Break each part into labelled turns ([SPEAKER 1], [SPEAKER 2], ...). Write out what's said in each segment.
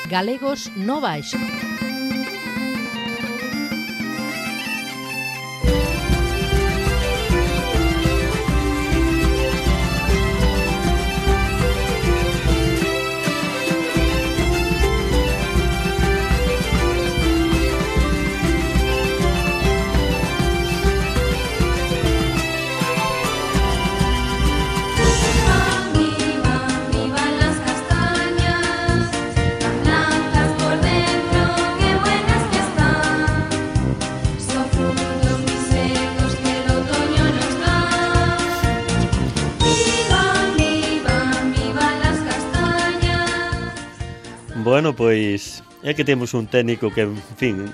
[SPEAKER 1] Galegos no Baixo.
[SPEAKER 2] Bueno, pois é que temos un técnico que, en fin,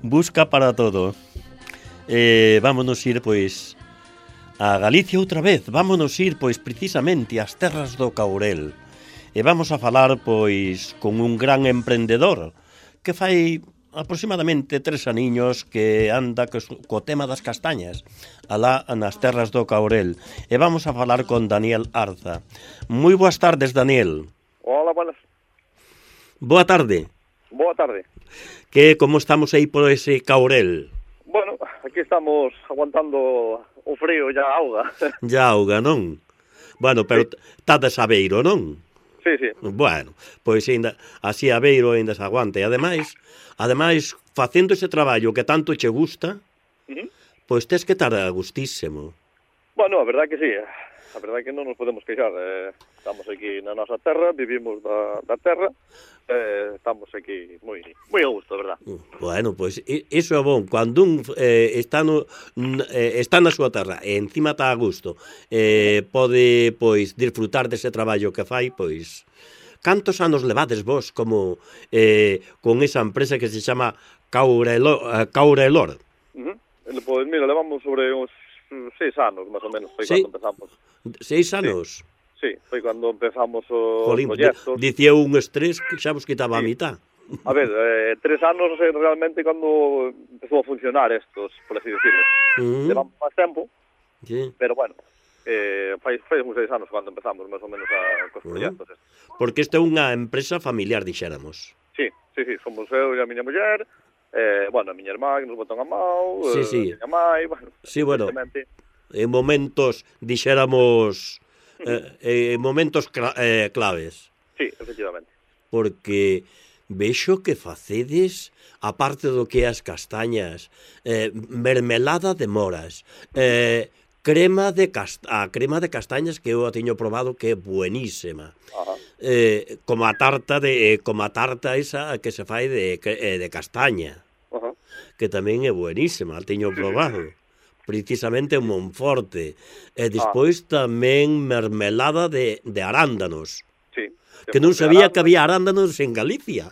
[SPEAKER 2] busca para todo. Vámonos ir, pois, a Galicia outra vez. Vámonos ir, pois, precisamente ás terras do Caurel. E vamos a falar, pois, con un gran emprendedor que fai aproximadamente 3 aniños que anda co tema das castañas alá nas terras do Caurel. E vamos a falar con Daniel Arza. Moi boas tardes, Daniel.
[SPEAKER 3] Hola, buenas.
[SPEAKER 2] Boa tarde.
[SPEAKER 3] Boa tarde.
[SPEAKER 2] Como estamos aí por ese Caurel?
[SPEAKER 3] Bueno, aquí estamos aguantando o frío e a auga.
[SPEAKER 2] Ya auga, non? Bueno, pero está de sabeiro, non?
[SPEAKER 3] Sí, sí.
[SPEAKER 2] Bueno, pois ainda así a beiro ainda se aguanta. E ademais, facendo ese traballo que tanto che gusta, pois tes que estar a gustísimo.
[SPEAKER 3] Bueno, a verdade que sí. A verdade que non nos podemos queixar. Estamos aquí na nosa terra, vivimos da terra, estamos aquí moi a gusto, a verdade.
[SPEAKER 2] Bueno, pois iso é bon. Cando un está na súa terra e encima está a gusto, pode, pois, disfrutar dese traballo que fai, pois... Cantos anos levades vos como con esa empresa que se chama Caurelor?
[SPEAKER 3] Pois mira, levamos sobre uns 6 anos, máis ou menos, foi
[SPEAKER 2] sí.
[SPEAKER 3] Cando empezamos.
[SPEAKER 2] 6 anos?
[SPEAKER 3] Sí, foi cando empezamos o
[SPEAKER 2] Jolín,
[SPEAKER 3] proxectos.
[SPEAKER 2] Dicía un estrés que xa vos quitaba a mitad.
[SPEAKER 3] A ver, 3 anos realmente cando empezou a funcionar estos, por así decirlo. Levamos máis tempo,
[SPEAKER 2] sí.
[SPEAKER 3] Pero bueno, fai uns 6 anos cando empezamos máis ou menos cos proxectos estos.
[SPEAKER 2] Porque esta é unha empresa familiar, dixéramos.
[SPEAKER 3] Sí, somos eu e a miña muller, bueno, a miña irmá que nos botan a mão,
[SPEAKER 2] sí.
[SPEAKER 3] a miña mãe, bueno.
[SPEAKER 2] Sí, bueno, en momentos, dixéramos, en momentos claves.
[SPEAKER 3] Sí, efectivamente.
[SPEAKER 2] Porque vexo que facedes, aparte do que as castañas, mermelada de moras, crema de castañas que eu a teño probado que é buenísima. Como a tarta esa que se fai de castaña. Que tamén é buenísima, a teño probado. Precisamente en Monforte. E despois tamén mermelada de arándanos.
[SPEAKER 3] Sí.
[SPEAKER 2] Que non sabía que había arándanos en Galicia.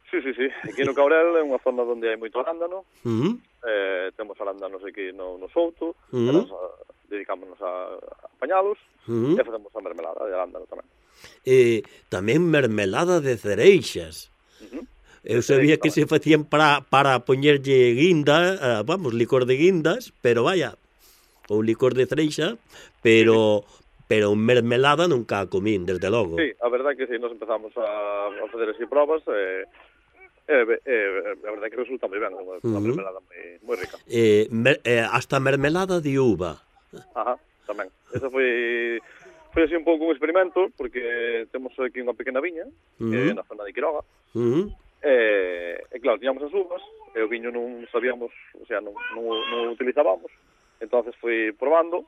[SPEAKER 3] Sí. Aquí no Caurel é unha zona onde hai moito arándano. Temos arándanos aquí no Souto. Dedicámonos a apañalos. E facemos a mermelada de arándano tamén.
[SPEAKER 2] Tamén mermelada de cereixas. Eu sabía que se facían para poñerlle guinda, licor de guindas, pero vaya, ou licor de cereixa, pero mermelada nunca a comín, desde logo.
[SPEAKER 3] Sí, a verdade que sí, nos empezamos a facer así probas, a verdade que resulta moi ben, unha mermelada moi rica.
[SPEAKER 2] Hasta mermelada de uva.
[SPEAKER 3] Tamén. Eso foi así un pouco un experimento, porque temos aquí unha pequena viña, na zona de Quiroga, e claro, tiñamos as uvas, e o viño non sabíamos, o sea, non utilizábamos, entonces fomos probando,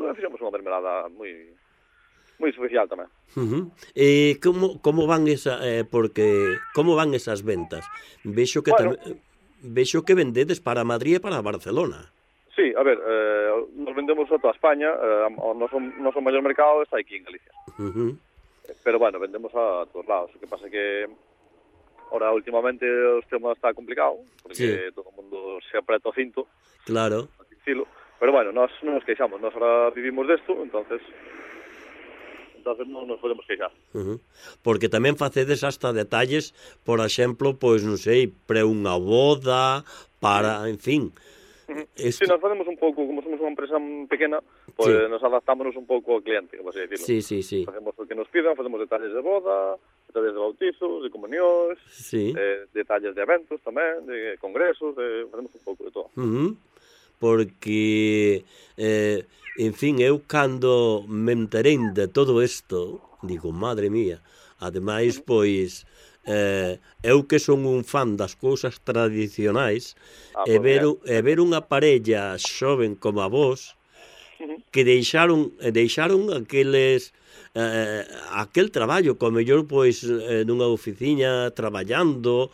[SPEAKER 3] e fixemos unha mermelada moi especial tamén.
[SPEAKER 2] E como van esas ventas? Vexo que vendedes para Madrid e para Barcelona.
[SPEAKER 3] Sí, a ver, nos vendemos a toda España, o noso maior mercado está aquí en Galicia. Pero bueno, vendemos a todos lados. O que pasa que ahora últimamente o tema está complicado, porque todo o mundo se apreta o cinto.
[SPEAKER 2] Claro.
[SPEAKER 3] Pero bueno, nós non nos queixamos, nós ahora vivimos desto, entonces non nos podemos queixar.
[SPEAKER 2] Porque tamén facedes hasta detalles, por exemplo, pois non sei, para unha boda, para, en fin.
[SPEAKER 3] Sí, nos facemos un pouco, como somos unha empresa pequena, pois nos adaptámonos un pouco ao cliente, como así decirlo.
[SPEAKER 2] Sí.
[SPEAKER 3] Facemos o que nos pidan, facemos detalles de boda, través de bautizos, de comunións, detalles de eventos tamén, de congresos, facemos un pouco de todo.
[SPEAKER 2] Porque, en fin, eu cando me enterei de todo isto, digo, madre mía, ademais, pois, eu que son un fan das cousas tradicionais, e ver unha parella xoven como a vos, que deixaron aqueles aquel traballo, como mellor pois nunha oficina traballando,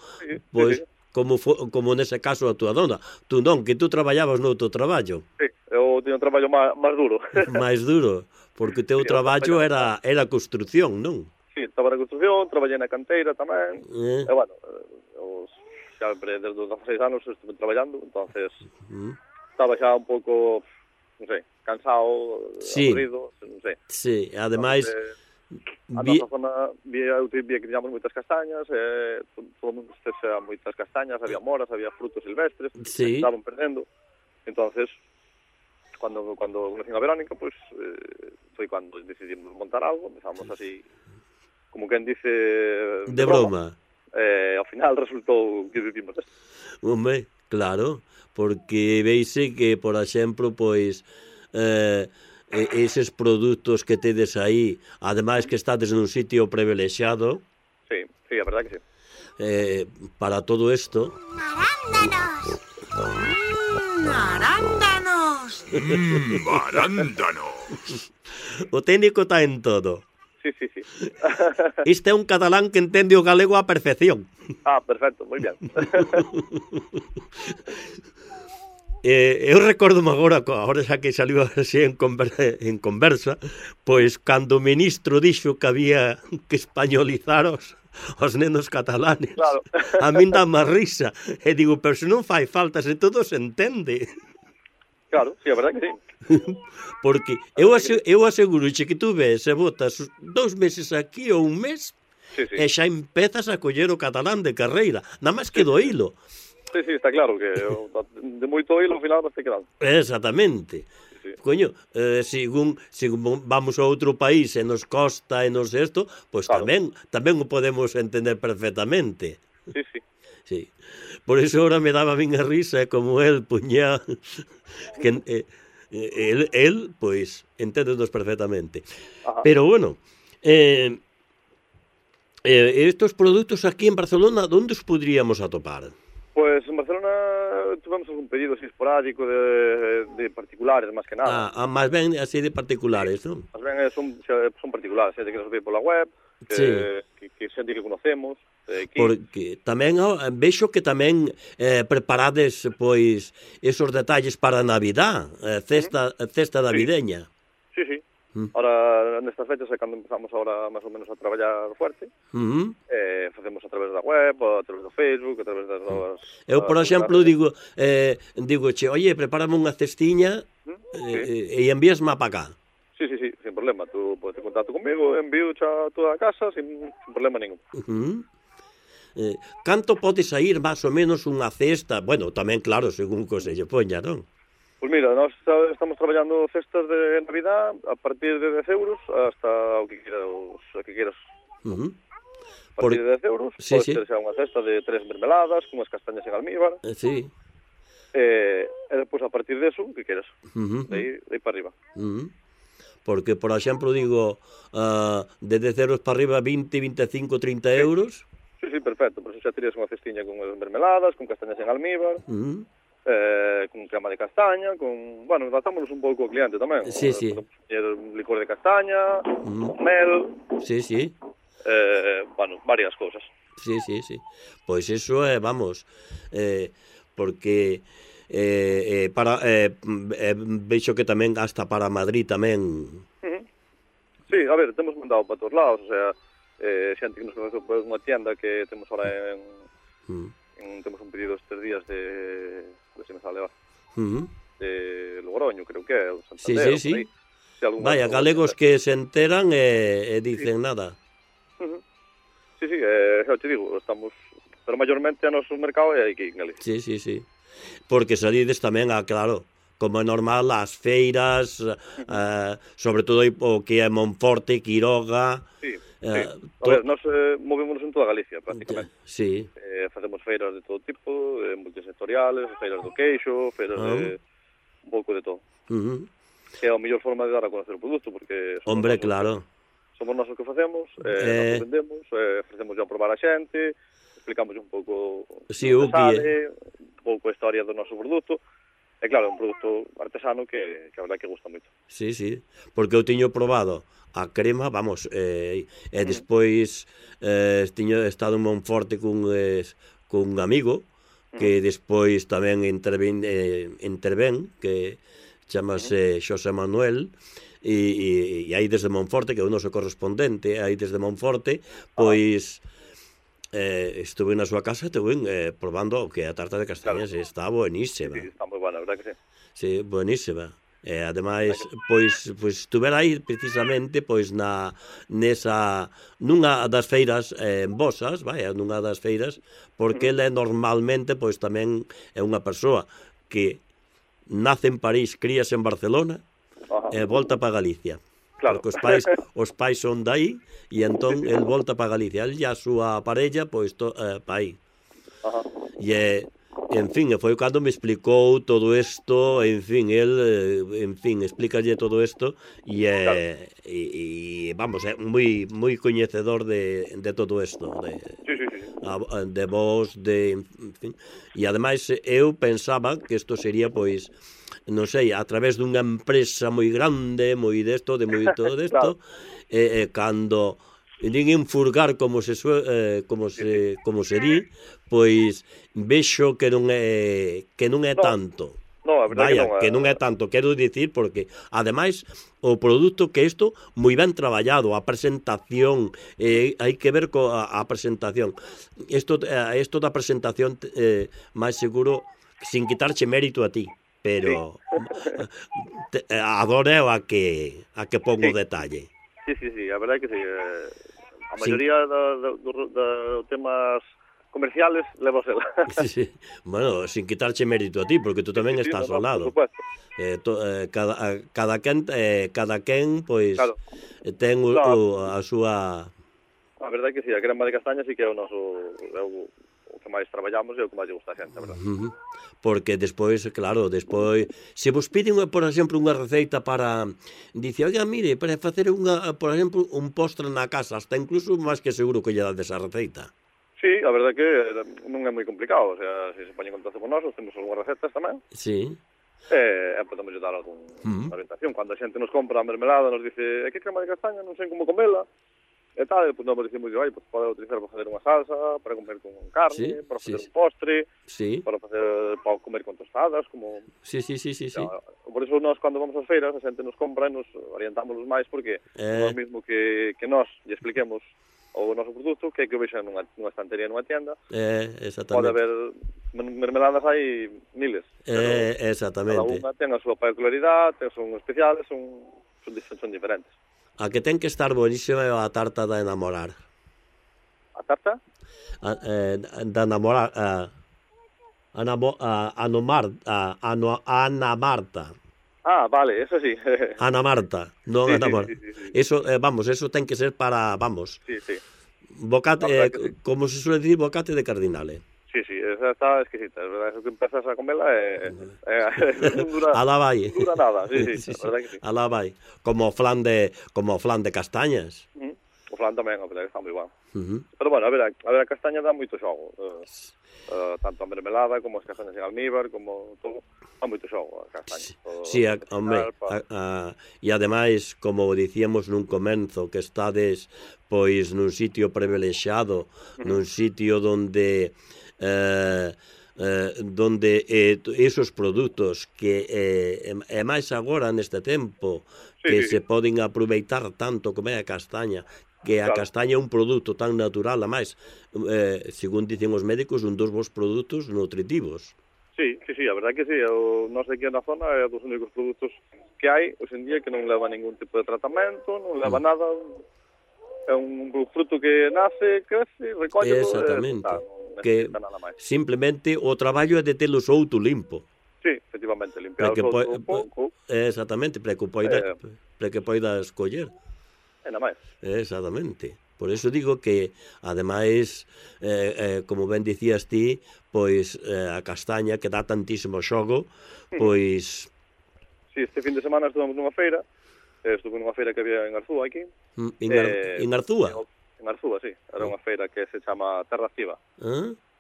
[SPEAKER 2] pois como nese caso a túa dona. Tú non, que tú traballabas noutro traballo.
[SPEAKER 3] Sí, eu tiño un traballo máis duro.
[SPEAKER 2] Máis duro, porque o teu traballo era construcción, non?
[SPEAKER 3] Sí, estaba na construcción, traballei na canteira tamén. E, bueno, sempre desde os 16 anos estuve traballando, entonces estaba xa un pouco, non sei, cansado, aburrido, non sei.
[SPEAKER 2] Sí, ademais...
[SPEAKER 3] A nosa zona vía que tiñamos moitas castañas, todo o mundo estese a moitas castañas, había moras, había frutos silvestres, que estaban perdendo. Entonces, cando conocín a Verónica, pues, foi cando decidimos montar algo, empezamos así, como quen dice...
[SPEAKER 2] De broma.
[SPEAKER 3] Ao final resultou que vivimos esto.
[SPEAKER 2] Home, claro, porque veise que, por exemplo, pois... eses produtos que tedes aí, ademais que estades nun sitio privilexiado.
[SPEAKER 3] Sí, a verdad que sí.
[SPEAKER 2] Para todo isto...
[SPEAKER 1] ¡Arándanos! ¡Arándanos!
[SPEAKER 4] ¡Arándanos!
[SPEAKER 2] O técnico está en todo.
[SPEAKER 3] Sí.
[SPEAKER 2] Este é un catalán que entende o galego á perfección.
[SPEAKER 3] Perfecto, moi ben.
[SPEAKER 2] Eu recordome agora xa que saliu así en conversa, pois cando o ministro dixo que había que españolizar os nenos catalanes,
[SPEAKER 3] claro.
[SPEAKER 2] A min dá má risa, e digo, pero se non fai falta, se todo se entende.
[SPEAKER 3] Claro, sí, a verdad que sí.
[SPEAKER 2] Porque eu aseguro que tú ves e botas 2 meses aquí ou un mes, e xa empezas a coller o catalán de carreira, nada máis que do hilo.
[SPEAKER 3] Sí, está claro que de moito hilo ao final vas te quedando.
[SPEAKER 2] Exactamente. Sí. Coño, según vamos a outro país e nos costa e nos esto, pois claro. tamén o podemos entender perfectamente. Sí. Por iso ahora me daba bien a risa como el puñá que el pois enténdenos perfectamente. Ajá. Pero bueno, estos produtos aquí en Barcelona, onde os podríamos atopar?
[SPEAKER 3] Pues en Barcelona tuvemos algún pedido así esporádico de particulares, máis que nada.
[SPEAKER 2] Máis ben así de particulares, non?
[SPEAKER 3] Máis ben son particulares, xente que nos ve pola web, que xente que conocemos.
[SPEAKER 2] Porque tamén vexo que tamén preparades pois esos detalles para a Navidad, cesta navideña.
[SPEAKER 3] Sí. Ahora, nestas fechas é cando empezamos ahora máis ou menos a traballar fuerte. Facemos a través da web, a través do Facebook, a través das novas...
[SPEAKER 2] Eu, por exemplo, digo che, oye, prepárame unha cestiña e envíasme para cá.
[SPEAKER 3] Sí, sin problema. Tú podes ter contacto comigo, envío a toda a casa sin problema ningún.
[SPEAKER 2] Canto pode sair máis ou menos unha cesta? Bueno, tamén, claro, según que se lle poña, non?
[SPEAKER 3] Pois mira, nós estamos traballando cestas de Navidad a partir de 10 euros hasta o que quieras. A partir de 10 euros, pode ser xa unha cesta de 3 mermeladas, con unhas castañas en almíbar.
[SPEAKER 2] Sí.
[SPEAKER 3] E depois a partir de eso, que quieras. De aí para arriba.
[SPEAKER 2] Porque, por exemplo, digo, de 10 euros para arriba, 20, 25, 30 euros.
[SPEAKER 3] Sí, perfecto. Por eso xa terías unha cestiña con mermeladas, con castañas en almíbar. Con crema de castaña, bueno, adaptámonos un pouco ao cliente tamén.
[SPEAKER 2] Sí.
[SPEAKER 3] Un licor de castaña, mel.
[SPEAKER 2] Sí.
[SPEAKER 3] Bueno, varias cousas.
[SPEAKER 2] Sí. Pois iso é, vamos, porque veixo que tamén hasta para Madrid tamén.
[SPEAKER 3] Sí, a ver, temos mandado para todos lados, o sea, xente que nos conoce por unha tienda que temos ahora temos un pedido estes días de se me sale de Logroño, creo que é, o Santander.
[SPEAKER 2] Sí. Vaya, galegos que se enteran e dicen nada.
[SPEAKER 3] Sí, xa te digo, estamos, pero mayormente a noso mercado é aquí en Galicia.
[SPEAKER 2] Sí. Porque salides tamén claro, como é normal, as feiras, sobre todo o que é Monforte, Quiroga,
[SPEAKER 3] A ver, nós movémonos en toda Galicia, prácticamente.
[SPEAKER 2] Sí.
[SPEAKER 3] Facemos feiras de todo tipo, multisectoriales, feiras do queixo, feiras de un pouco de todo. Que é a mellor forma de dar a conocer o produto, porque...
[SPEAKER 2] Hombre, claro.
[SPEAKER 3] Somos nós o que facemos, nós o vendemos, ofrecemos a probar a xente, explicamos un pouco o que sale, un pouco a historia do noso produto. E claro, é un produto artesano que a verdade que gusta moito.
[SPEAKER 2] Sí, porque eu tiño probado a crema, vamos, e despois tiño estado en Monforte cun amigo que despois tamén intervén, que chamase Xosé Manuel, e aí desde Monforte, que é o noso correspondente, aí desde Monforte, pois... estuve na súa casa e estuve probando o que é a tarta de castañas, está buenísima.
[SPEAKER 3] Sí, está moi buena, a verdade que sí.
[SPEAKER 2] Sí, buenísima. Ademais, pois estuve aí precisamente pois nunha das feiras en Bosas, nunha das feiras, porque ele normalmente pois tamén é unha persoa que nace en París, críase en Barcelona e volta para Galicia. Claro. Porque os pais son dai e entón el volta para Galicia. El e a súa parella, pois, para aí. E, en fin, foi cando me explicou todo isto, en fin, explícalle todo isto e vamos, é moi coñecedor de todo isto. De vos, en fin. E, ademais, eu pensaba que isto sería, pois, non sei, a través dunha empresa moi grande, moi desto, de moi todo desto, cando ninguén furgar como se di, pois vexo que non é tanto.
[SPEAKER 3] No, a verdade
[SPEAKER 2] que non é tanto, quero dicir, porque ademais o produto que isto moi ben traballado, a presentación, hai que ver a presentación. Isto da presentación máis seguro, sin quitarche mérito a ti, pero adoro a que pongo detalle.
[SPEAKER 3] Sí, a verdade que sí. A maioría dos temas comerciales leva ela.
[SPEAKER 2] Sí. Bueno, sin quitarche mérito a ti, porque tú tamén estás ao lado. Cada quen pois ten a súa...
[SPEAKER 3] A verdade que sí, a crema de castaña sí que é o que máis traballamos e o que máis lle gusta a xente, a verdade.
[SPEAKER 2] Porque despois, claro, se vos piden, por exemplo, unha receita para... Dice, oiga, mire, para facer por exemplo, un postre na casa, hasta incluso máis que seguro que lle dades a receita.
[SPEAKER 3] Sí, a verdade que non é moi complicado, o sea, se poñen en contacto con nós, temos algunhas recetas tamén.
[SPEAKER 2] Sí.
[SPEAKER 3] E podemos dar algunha orientación. Cando a xente nos compra a mermelada, nos dice, que crema de castaña, non sei como comela, e tal, pois nos dicimos, pois pode utilizar para facer unha salsa, para comer con carne, para facer un postre, para comer con tostadas, como...
[SPEAKER 2] Sí.
[SPEAKER 3] Por iso nós, cando vamos ás feiras, a xente nos compra e nos orientamos máis, porque non é o mismo que nós lle expliquemos o noso produto, que o vexan nunha estantería, nunha tienda.
[SPEAKER 2] Exactamente.
[SPEAKER 3] Pode haber mermeladas, hai miles.
[SPEAKER 2] Exactamente.
[SPEAKER 3] Cada unha ten a súa particularidade, son especiales, son diferentes.
[SPEAKER 2] A que ten que estar buenísima é a tarta da enamorar.
[SPEAKER 3] A tarta?
[SPEAKER 2] Da enamorar... Ana Marta.
[SPEAKER 3] Ah, vale, eso sí.
[SPEAKER 2] Ana Marta, non Ana Marta. Eso, vamos, eso ten que ser para, vamos.
[SPEAKER 3] Sí.
[SPEAKER 2] Bocate, como se suele decir, bocate de cardinale.
[SPEAKER 3] Sí, esa está exquisita, es verdad, eso que empezas a comerla non dura,
[SPEAKER 2] vai.
[SPEAKER 3] Non dura nada, sí, a verdad que sí.
[SPEAKER 2] Alá vai, como flan de castañas.
[SPEAKER 3] O flan tamén, a verdad que está moi bueno. Pero bueno, a ver, a castaña dá moito xogo, tanto a mermelada como as castañas en almíbar, como todo, dá moito xogo a castaña.
[SPEAKER 2] Sí, hombre, e ademais, como dicíamos nun comenzo, que estades pois nun sitio privilexiado, nun sitio donde esos produtos que é máis agora neste tempo que se poden aproveitar tanto como é a castaña, que a castaña é un produto tan natural, a máis, según dicen os médicos, un dos bons produtos nutritivos.
[SPEAKER 3] Sí, a verdade que sí, nós aquí na zona é dos únicos produtos que hai hoxe en día que non leva ningún tipo de tratamento, non leva nada, é un fruto que nace, crece, recolle,
[SPEAKER 2] exactamente, que simplemente o traballo é de telo souto limpo.
[SPEAKER 3] Sí, efectivamente, limpiar o souto un pouco.
[SPEAKER 2] Exactamente, para que poida escoller.
[SPEAKER 3] E nada máis.
[SPEAKER 2] Exactamente, Por eso digo que, ademais, como ben dicías ti, pois a castaña que dá tantísimo xogo, pois...
[SPEAKER 3] Sí, este fin de semana estuvemos nunha feira, estuve nunha feira que había en Arzúa aquí.
[SPEAKER 2] En Arzúa?
[SPEAKER 3] En Arzúa, sí. Era unha feira que se chama Terra Activa,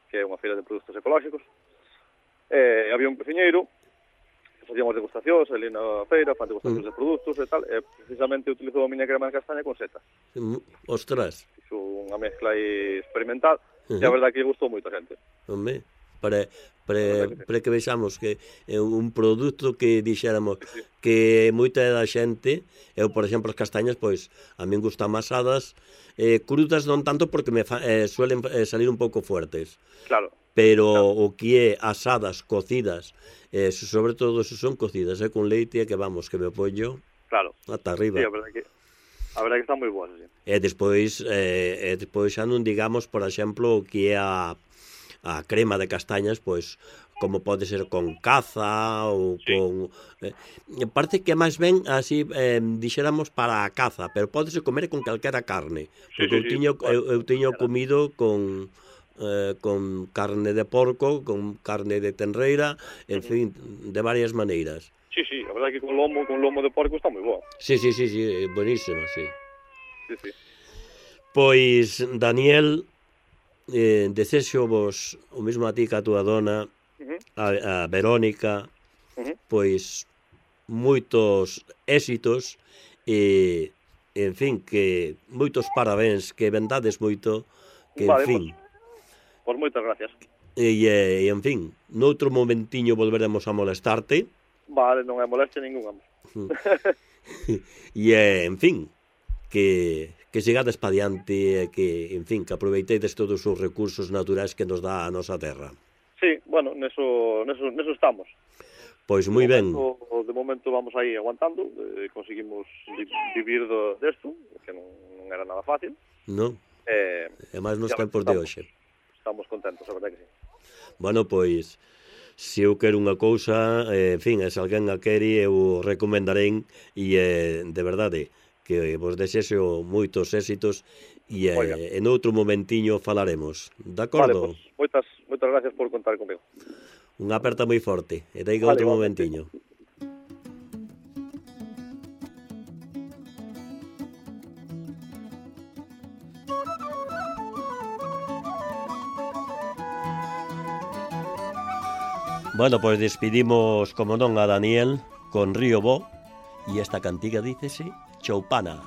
[SPEAKER 3] que é unha feira de produtos ecolóxicos. Había un cociñeiro, facíamos degustacións ali na feira, fan degustacións de produtos e tal, e precisamente utilizou a miña crema de castaña con setas.
[SPEAKER 2] Ostras.
[SPEAKER 3] Fixo unha mezcla aí experimental, e a verdade que gustou moito a xente.
[SPEAKER 2] Home, para que vexamos que é un produto que dixéramos que moita da xente, eu, por exemplo, as castañas, pois, a min gustan asadas, crudas non tanto porque me suelen salir un pouco fuertes.
[SPEAKER 3] Claro.
[SPEAKER 2] Pero o que é asadas, cocidas, sobre todo se son cocidas, con leite, que vamos, que me pollo ata arriba.
[SPEAKER 3] Sí, a verdade que están moi boas, sí.
[SPEAKER 2] E despois xa non digamos, por exemplo, o que é a crema de castañas, pois, como pode ser con caza ou con... parece que máis ben así, dixéramos para a caza, pero pódese comer con calquera carne. Porque eu tiño comido con carne de porco, con carne de tenreira, en fin, de varias maneiras.
[SPEAKER 3] Sí, a verdade que con lomo de porco está moi boa.
[SPEAKER 2] Sí, buenísima, sí.
[SPEAKER 3] Sí.
[SPEAKER 2] Pois, Daniel, desexo vos o mesmo a ti que a túa dona, a Verónica, pois moitos éxitos e, en fin, que moitos parabéns, que vendades moito, que, en fin...
[SPEAKER 3] Pois moitas gracias.
[SPEAKER 2] E, en fin, noutro momentiño volveremos a molestarte.
[SPEAKER 3] Vale, non é molestia ninguna.
[SPEAKER 2] E, en fin, que sigades pa diante e que, en fin, que aproveitedes todos os recursos naturais que nos dá a nosa terra.
[SPEAKER 3] Sí, bueno, neso estamos.
[SPEAKER 2] Pois moi ben.
[SPEAKER 3] De momento vamos aí aguantando, conseguimos vivir desto, que non era nada fácil.
[SPEAKER 2] Non, e máis nos tempos de hoxe.
[SPEAKER 3] Estamos contentos, a verdade que sí.
[SPEAKER 2] Bueno, pois, se eu quero unha cousa, en fin, se alguén a quere, eu recomendarei, e de verdade, que vos desexo moitos éxitos, e en outro momentiño falaremos, de acordo?
[SPEAKER 3] Vale, pois, moitas gracias por contar comigo.
[SPEAKER 2] Unha aperta moi forte, e dai outro momentiño. Bueno, pois despedimos, como non, a Daniel con Río Bo, e esta cantiga dícese Choupana.